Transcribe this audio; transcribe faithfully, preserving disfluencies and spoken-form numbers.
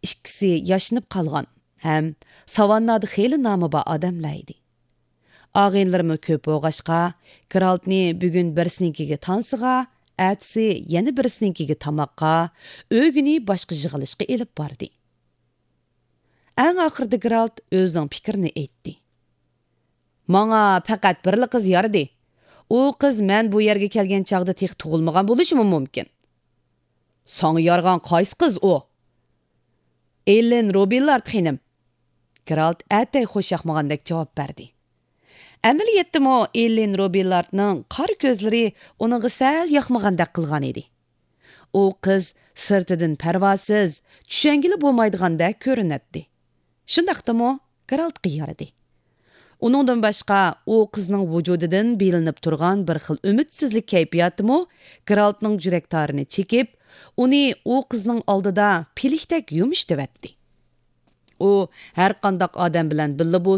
ئىككىسى ياشىنىپ قالغان ھەم ساۋاننادا خېلى نامى بار ئادەملەر ئىدى. ئاغىنىلىرىمۇ كۆپ بولغاچقا، گېرالتنى بۈگۈن بىرسىنىڭكىگە تانسىغا، ئەتىسى يەنە بىرسىنىڭكىگە تاماققا، ئۆگۈنى باشقا يىغىلىشقا ئېلىپ باردى. ئەڭ ئاخىرىدا گېرالت ئۆزىنىڭ پىكرىنى ئېيتتى. ماڭا پەقەت بىرلا قىز يارىدى. ئۇ قىز مەن بۇ يەرگە كەلگەن چاغدا تېخى تۇغۇلمىغان بولۇشىمۇ مۇمكىن. ساڭا يارىغان قايسى قىز ئۇ؟ ئېللېن روبىللارد خېنىم. گېرالت ئەتەي خوش ياقمىغاندەك جاۋاب بەردى. ئەمەلىيەتتىمۇ ئېللېن روبىللاردنىڭ قارا كۆزلىرى ئۇنىڭغا سەل ياقمىغاندەك قىلغان ئىدى. ئۇ قىز سىرتىدىن پەرۋاسىز، چۈشەنگىلى بولمايدىغاندەك كۆرۈنەتتى. شۇنداقتىمۇ گېرالتقا يارىدى. ئۇنىڭدىن باشقا ئۇ قىزنىڭ ۋۇجۇدىدىن بىلىنىپ تۇرغان بىر خىل ئۈمىدسىزلىك كەيپىياتىمۇ گېرالتنىڭ يۈرەك تارىنى چېكىپ، ئۇنى ئۇ قىزنىڭ ئالدىدا پىلىكتەك يۇمشىتىۋەتتى. ئۇ ھەرقانداق ئادەم بىلەن بىللە بولسا،